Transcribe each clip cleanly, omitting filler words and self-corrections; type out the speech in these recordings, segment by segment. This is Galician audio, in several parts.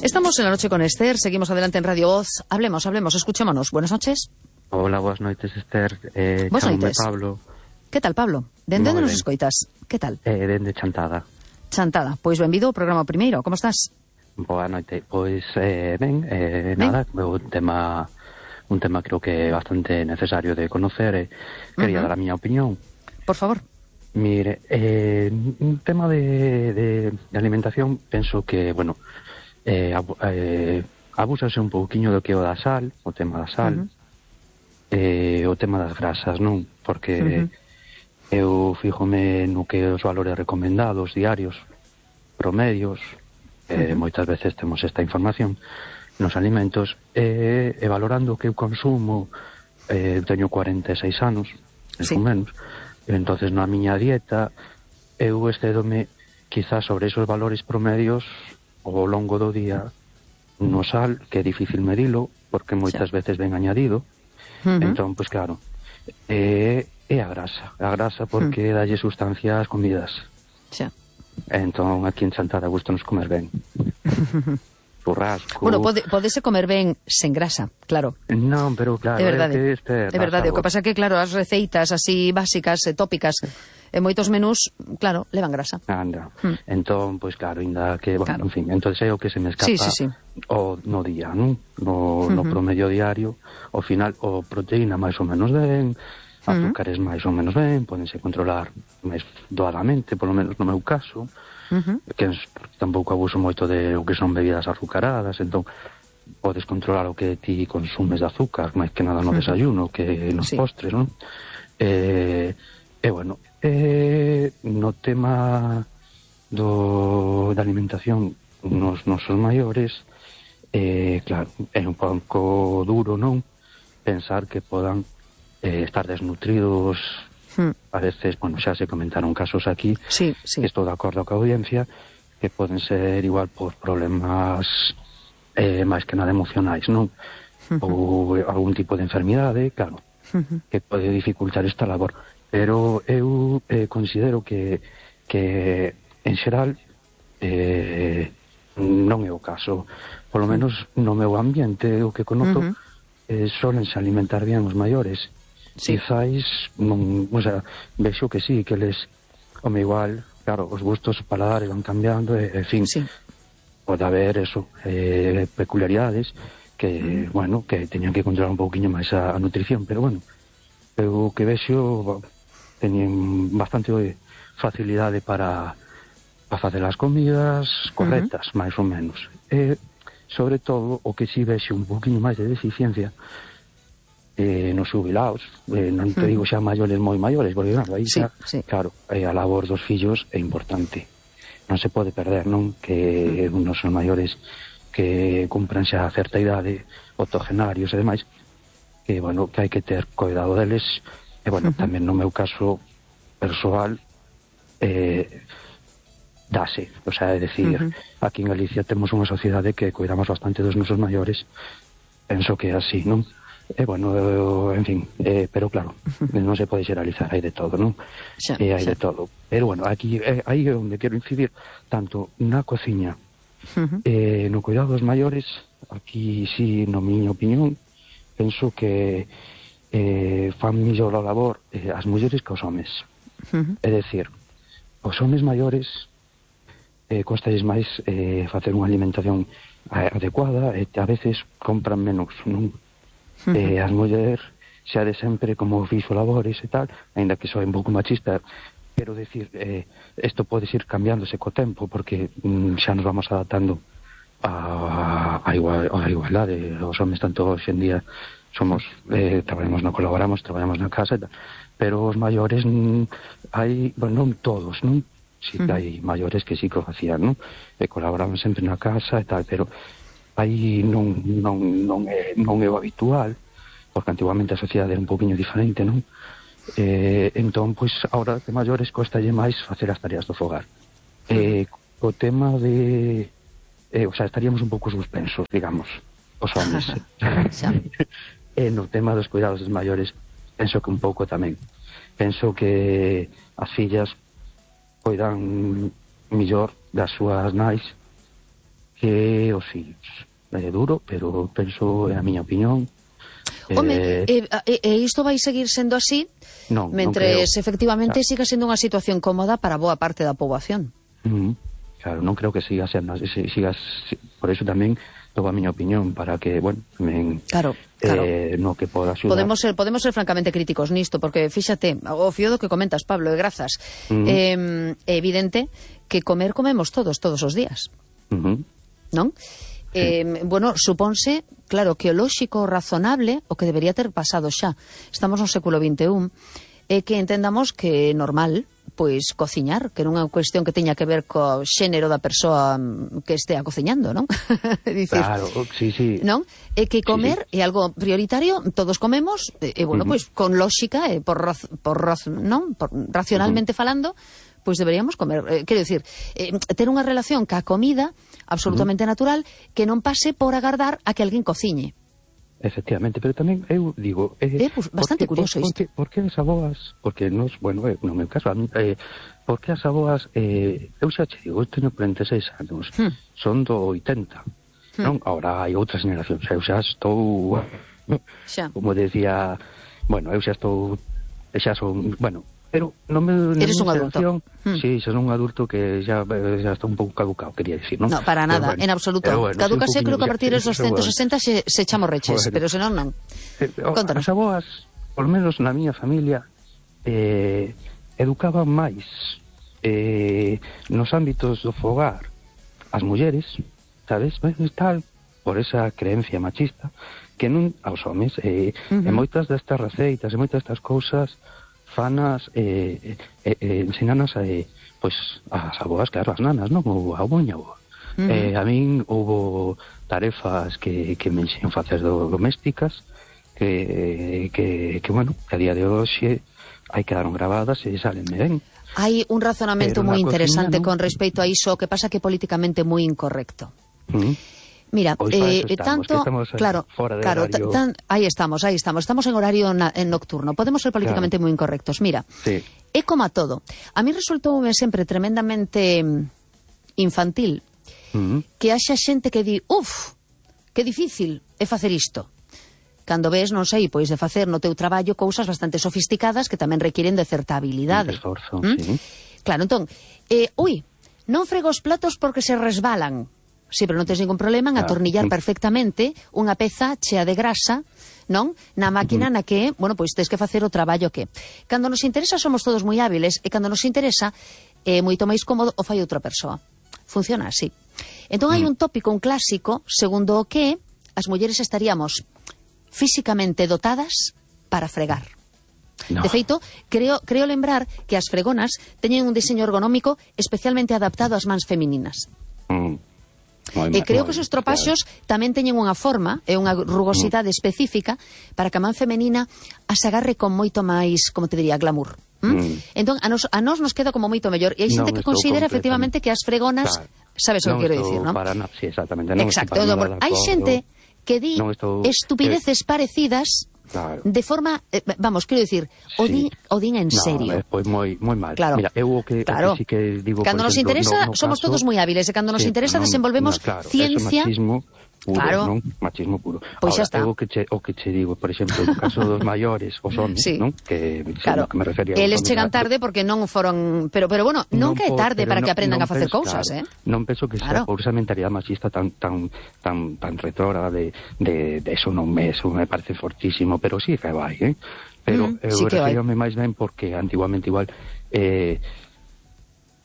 Estamos en la noche con Esther, seguimos adelante en Radio Voz. Hablemos, escuchémonos. Buenas noches. Hola, boas noites, Esther. Boas noites. Pablo. Que tal, Pablo? Dende onde nos escoitas? Que tal? Dende Chantada. Chantada. Pois benvido ao programa primeiro. Como estás? Boa noite. Pois, nada, un tema creo que é bastante necesario de conocer. Quería dar a miña opinión. Por favor. Mire, un tema de alimentación, penso que, bueno, abúsase un pouquiño do que o da sal, o tema da sal, o tema das grasas, non? Porque eu fíjome no que os valores recomendados diarios, promedios, moitas veces temos esta información nos alimentos, e valorando o que eu consumo, teño 46 anos, menos, entonces na miña dieta eu excedome quizás sobre esos valores promedios ao longo do día no sal, que é difícil medilo porque moitas veces ven añadido. Entón, pois claro, é a grasa porque dalle sustancia ás comidas. Entón, aquí en Chantada gusto nos comer ben. Churrasco. Bueno, podese comer ben sen grasa, claro. Non, pero claro, é verdade. O que pasa que, claro, as receitas así básicas, tópicas, e moitos menús, claro, levan grasa. Anda. Entón, pois claro, ainda que, bueno, en fin, entón é o que se me escapa o no día, non? No promedio diario, ao final, o proteína máis ou menos ben, azúcares máis ou menos ben, pódense controlar máis doadamente, polo menos no meu caso, que tampouco abuso moito de o que son bebidas azucaradas, entón podes controlar o que ti consumes de azúcar, máis que nada no desayuno, que nos postres, non? Bueno, no tema da alimentación nos nosos maiores, claro, é un pouco duro, non? Pensar que podan estar desnutridos. A veces, bueno, xa se comentaron casos aquí, estou de acordo coa audiencia, que poden ser igual por problemas máis que nada emocionais, non? Ou algún tipo de enfermidade, claro, que pode dificultar esta labor. Pero eu considero que en xeral non é o caso. Por lo menos no meu ambiente, o que conoto, solense alimentar bien os maiores. Quizáis, o sea, vexo que sí, que les, como igual, claro, os gustos paladares van cambiando, en fin, pode haber eso, peculiaridades que, bueno, que teñan que controlar un pouquiño máis a nutrición, pero bueno, eu que vexo teñen bastante facilidade para facer as comidas correctas, máis ou menos. Sobre todo, o que si vexo un pouquiño máis de deficiencia nos xubilados, non te digo xa maiores moi maiores, porque claro, aí xa, claro, a labor dos fillos é importante, non se pode perder, non? Que unos son maiores que cumpran xa a certa idade, octogenarios e demais, que, bueno, que hai que ter cuidado deles, e, bueno, tamén no meu caso persoal, dase, o sea, é dicir, aquí en Galicia temos unha sociedade que cuidamos bastante dos nosos maiores, penso que é así, non? Bueno, en fin, pero claro, non se pode xeralizar, hai de todo, non? Hai de todo. Pero bueno, aquí aí é onde quero incidir, tanto na cociña, no cuidado dos maiores, aquí sí, no miña opinión, penso que fan mellor a labor as mulleres que os homes. É dicir, os homes maiores costalles máis facer unha alimentación adecuada e a veces compran menos, non? As mulleres xa de sempre como fixo labores e tal, aínda que soe un pouco machista, pero decir, isto pode ir cambiándose co tempo, porque xa nos vamos adaptando a igualdade. Os homens tanto hoxe en día somos, traballamos na casa e tal, pero os maiores hai, bueno, non todos, non? Si que hai maiores que sí que o facían, non? E colaboraban sempre na casa e tal, pero aí non é o habitual, porque antiguamente a sociedade era un pouquinho diferente, non? Entón, pois, agora de maiores costalle máis facer as tareas do fogar. O tema de... o sea, estaríamos un pouco suspensos, digamos, os homens. No tema dos cuidados dos maiores, penso que un pouco tamén. Penso que as fillas coidan millor das súas nais que os fillos. É duro, pero penso, é a miña opinión. Home, isto vai seguir sendo así mentres efectivamente siga sendo unha situación cómoda para boa parte da poboación. Claro, non creo que siga sendo, por eso tamén toda a miña opinión, para que, bueno, claro. no que poda axudar. Podemos ser francamente críticos nisto, porque fíxate, o fío do que comentas, Pablo, e grazas, é evidente que comemos todos os días, non? Bueno, supónse, claro, que o lóxico, o razonable, o que debería ter pasado xa, estamos no século XXI, é que entendamos que é normal, pois, cociñar, que non é unha cuestión que teña que ver co xénero da persoa que estea cociñando, non? Dicir, claro, sí. Non? É que comer é algo prioritario, todos comemos, e bueno, pois, con lóxica, racionalmente falando, pois deberíamos comer. Quero dicir, ter unha relación ca comida absolutamente natural que non pase por agardar a que alguén cociñe. Efectivamente, pero tamén eu digo... pues, bastante curioso isto. Por que as aboas... Porque nos, bueno, no meu caso, por que as aboas... eu xa che digo, eu teño 46 anos, son do 80, non? Ahora hai outras generacións, eu xa estou... Como decía... Bueno, eu xa estou... Xa son... Bueno... Pero non me... Eres un adulto. Sí, son un adulto que xa está un pouco caducado, quería dicir, non? No, para nada, bueno, en absoluto. Bueno, caducase creo que a partir dos 160 se echamos reches, pero senón non. Contanos. As aboas, por menos na miña familia, educaban máis nos ámbitos do fogar as mulleres, sabes? Tal, por esa creencia machista, que non aos homes. E moitas destas receitas e moitas destas cousas fanas ensinanas pois as aboas, claro, as nanas, non? Ou a miña aboa. A min houbo tarefas que me ensinan facer domésticas que bueno, que a día de hoxe hai quedaron gravadas e salenme ben. Hai un razonamento moi interesante con respecto a iso, que pasa que políticamente moi incorrecto. Mira, estamos claro, aí estamos en horario nocturno, podemos ser políticamente moi incorrectos. Mira, é como a todo. A mí resultoume sempre tremendamente infantil que haxa xente que di, que difícil é facer isto. Cando ves, non sei, pois de facer no teu traballo cousas bastante sofisticadas que tamén requiren de certa habilidade. Esforzo, sí. Claro, entón, non frego os platos porque se resbalan. Sí, pero non tens ningún problema en atornillar perfectamente unha peza chea de grasa, non? Na máquina na que, bueno, pois tens que facer o traballo que. Cando nos interesa somos todos moi hábiles e cando nos interesa moito máis cómodo o fai outra persoa. Funciona así. Entón hai un tópico, un clásico, segundo o que as mulleres estaríamos físicamente dotadas para fregar. No. De feito, creo lembrar que as fregonas teñen un diseño ergonómico especialmente adaptado ás mans femininas. E creo que os estropaxos tamén teñen unha forma e unha rugosidade específica para que a man femenina as agarre con moito máis, como te diría, glamour. Entón, a nos nos queda como moito mellor. E hai xente que considera efectivamente que as fregonas... Sabes o que quero dicir, non? Sí, exactamente. Exacto. Hai xente que di estupideces parecidas... Claro. De forma, vamos, quero dicir, o din en serio. Pois moi mal. Claro. Mira, eu sí que digo, cando nos interesa, somos todos moi hábiles, e cando nos interesa desenvolvemos ciencia. Puro, claro. Non? Machismo puro. Pois xa está. O que che digo, por exemplo, no caso dos maiores, os homes, non? Que me refería a eles chegan tarde porque non foron, pero bueno, nunca é tarde para que aprendan a facer cousas, Non penso que sea por esa mentalidade machista tan retrógrada de eso non me parece fortísimo, pero sí que vai, Pero eu refírome máis ben porque antiguamente igual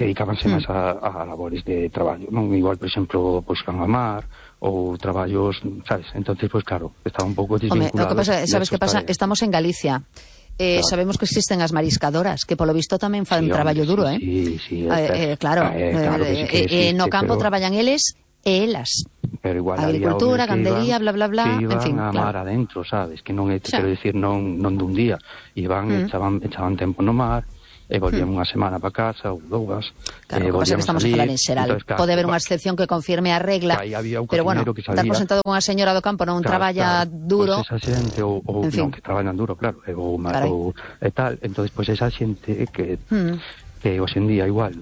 dedicábanse máis a labores de traballo, non? Igual, por exemplo, pois can a mar ou traballos, sabes? Entonces, pues claro, estaba un pouco desvinculado. Home, o que pasa, sabes que pasa? Estamos en Galicia. Claro. Sabemos que existen as mariscadoras, que polo visto tamén fan traballo duro, Sí, claro. No campo traballan eles e elas. Pero igual agricultura, gandería, bla, bla, bla, en fin, a mar adentro, sabes? Que non é, quero dicir, non dun día. Iban, echaban tempo no mar, e volvían unha semana para casa ou dúas. Claro, o que pasa que estamos a falar en xeral. Entonces, claro, pode haber unha excepción que confirme a regla, pero bueno, dar por sentado con a señora do campo non traballa duro. Pois esa xente, ou non, que traballan duro, claro, ou tal, entonces, pois esa xente que hoxe en día igual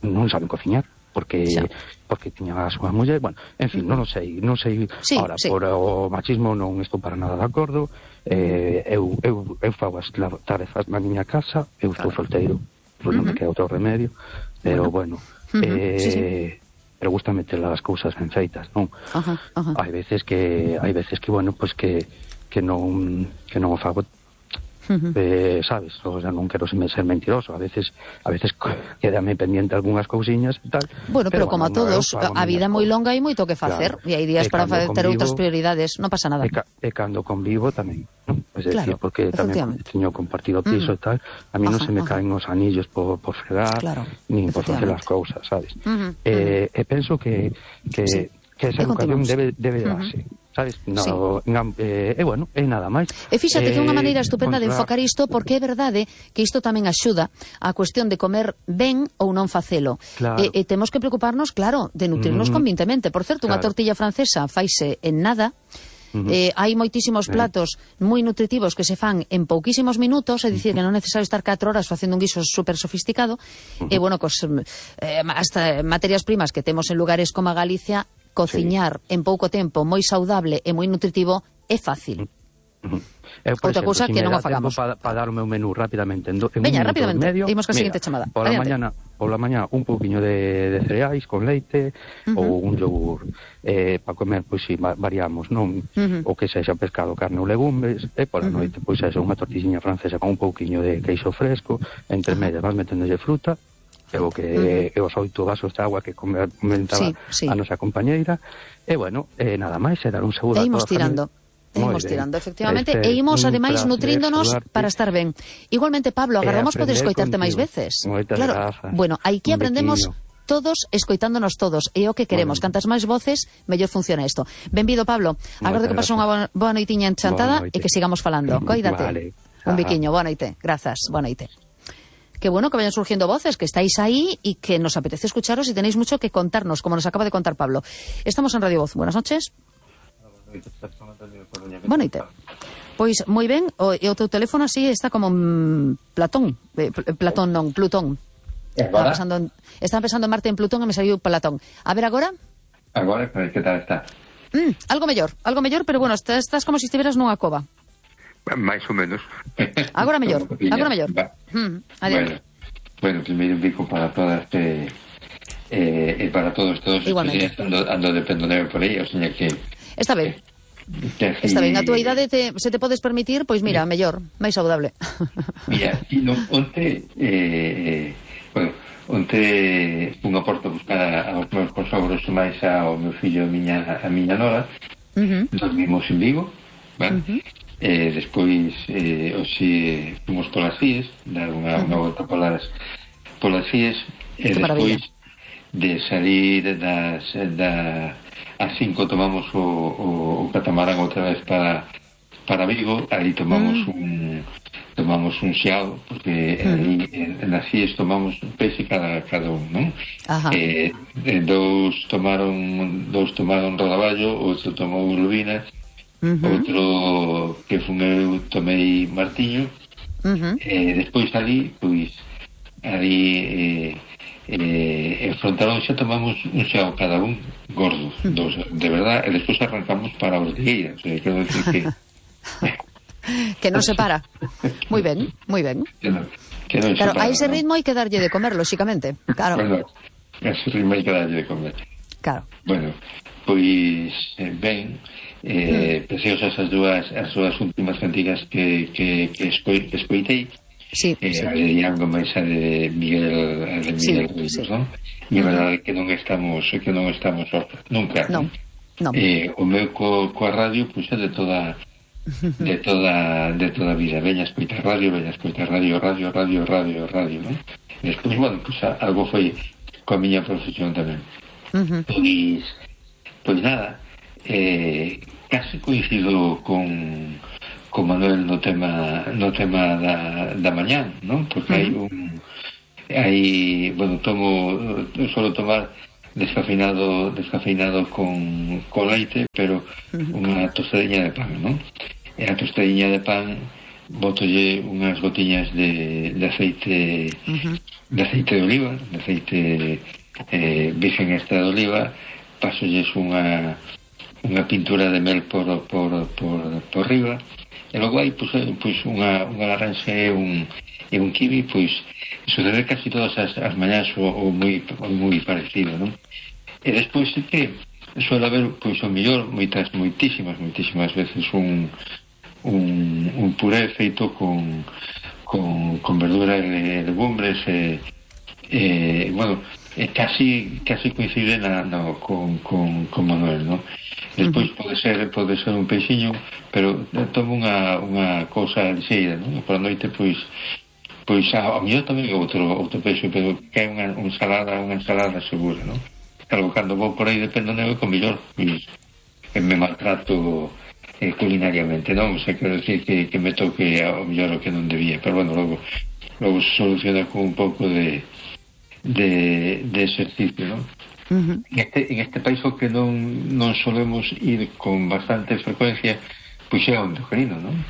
non saben cociñar, porque tiña a súa muller, bueno, en fin, non sei, ahora, por o machismo non estou para nada de acordo, eu fago as tarefas na miña casa, eu estou solteiro, non me queda outro remedio, pero bueno, pero gusta meter as cousas ben feitas, non? Hai veces que, bueno, pues que non o fago, sabes, o sea, non quero ser mentiroso, a veces quédame pendiente algunhas cousiñas e tal. Bueno, pero como a todos, a vida é moi longa e moito que facer, e hai días para ter outras prioridades, non pasa nada. E cando convivo tamén, non? Es decir, porque tamén teño compartido piso e tal, a mí non se me caen os anillos por fregar, nin por facer as cousas, sabes? E penso que esa educación debe darse, sabes? Bueno, é nada máis. E fíxate que é unha maneira estupenda de enfocar isto, porque é verdade que isto tamén axuda a cuestión de comer ben ou non facelo. E temos que preocuparnos, claro, de nutrirnos convintemente. Por certo, unha tortilla francesa faise en nada. Hai moitísimos platos moi nutritivos que se fan en pouquísimos minutos, é dicir, que non é necesario estar 4 horas facendo un guiso super sofisticado, e bueno, hasta materias primas que temos en lugares como a Galicia, cociñar en pouco tempo moi saudable e moi nutritivo é fácil. Outra cousa que non o fagamos. Para dar o meu menú rapidamente, veña, rapidamente, imos ca seguinte chamada. Pola mañana un pouquiño de cereais con leite ou un yogur, para comer, pois si variamos, non? O que sexa pescado, carne ou legumes, e pola noite, pois eso, unha tortilliña francesa con un pouquiño de queixo fresco, entre medias vas meténdolle fruta, e os 8 vasos de agua que comentaba a nosa compañeira, e bueno, nada máis, é dar un seguro a toda a familia. Imos tirando, efectivamente, e imos ademais nutríndonos para estar ben. Igualmente, Pablo, agardamos poder escoitarte máis veces. Claro, bueno, aquí aprendemos todos escoitándonos todos, e o que queremos, cantas máis voces, mellor funciona isto. Benvido, Pablo, agardo que pase unha boa noitiña enchantada e que sigamos falando. Coídate. Un biquiño, boa noite, grazas, boa noite. Qué bueno que vayan surgiendo voces, que estáis ahí y que nos apetece escucharos y tenéis mucho que contarnos, como nos acaba de contar Pablo. Estamos en Radio Voz. Buenas noches. Buenas noches. Pois moi ben, e o teu teléfono así está como Plutón. Estaba pensando en Marte en Plutón e me saliu Platón. A ver agora? Agora, que tal está? Algo mellor, pero bueno, estás como se estiveras nunha cova. Máis ou menos. Agora mellor. Bueno, primeiro un bico para todas para todos igualmente. Ando de pendoneo por aí, o sea que está ben. Está ben, a túa idade se te podes permitir, pois mira, mellor, máis saudable. Mira, onte fun a Porto a buscar aos meus consogros máis ao meu fillo e a miña nora. Dormimos en Vigo, vale? Despois hoxe fomos polas Fies, dar unha volta polas Fies, e despois de salir das 5 tomamos o catamarán outra vez para Vigo. Ali tomamos un xiao, porque ali nas Fies tomamos un peixe cada un, non? Dous tomaron rodaballo, outro tomou lubinas, outro que fun eu tomei martiño, despois ali enfrontaron xa tomamos un xao cada un gordo, dos, de verdad, e despois arrancamos para os Ortigueira, o sea, quero decir que que non se para. Moi ben. Claro, a ese ritmo hai que darlle de comer, lóxicamente. Claro. Bueno, a ese ritmo hai que darlle de comer. Claro. Bueno, pois ben, preciosas as dúas últimas cantigas que escoitei. Sí. A de Diango máis a de Miguel Ruiz, non? E a verdade que non estamos nunca. Non. O meu coa radio, pois é de toda a vida. Veña a escoitar radio, non? Despois, bueno, pois algo foi coa miña profesión tamén. Pois nada, casi coincido con Manuel no tema da mañán, non? Porque solo tomar descafeinado con leite, pero unha tostadiña de pan, non? E a tostadiña de pan botolle unhas gotiñas de aceite de oliva, de aceite virgen extra de oliva, pasolles unha pintura de mel por riba, e logo hai pois unha laranxa e un kiwi, pois sucede casi todas as mañás ou moi parecido, non? E despois é que suele haber, pois ao mellor, moitísimas veces un puré feito con verdura e legumbres, bueno, casi coincide con Manuel, non? Despois pode ser un peixiño, pero tomo unha cousa lixeira, non? Por a noite, pois ao mellor tamén outro peixe, pero que é unha ensalada segura, non? Claro, cando vou por aí de pendoneo, con mellor me maltrato culinariamente, non? O sea, quero decir que me toque ao mellor o que non debía, pero bueno, logo se soluciona con un pouco de exercicio, non? En este país o que non solemos ir con bastante frecuencia, pois é ao endocrino, non?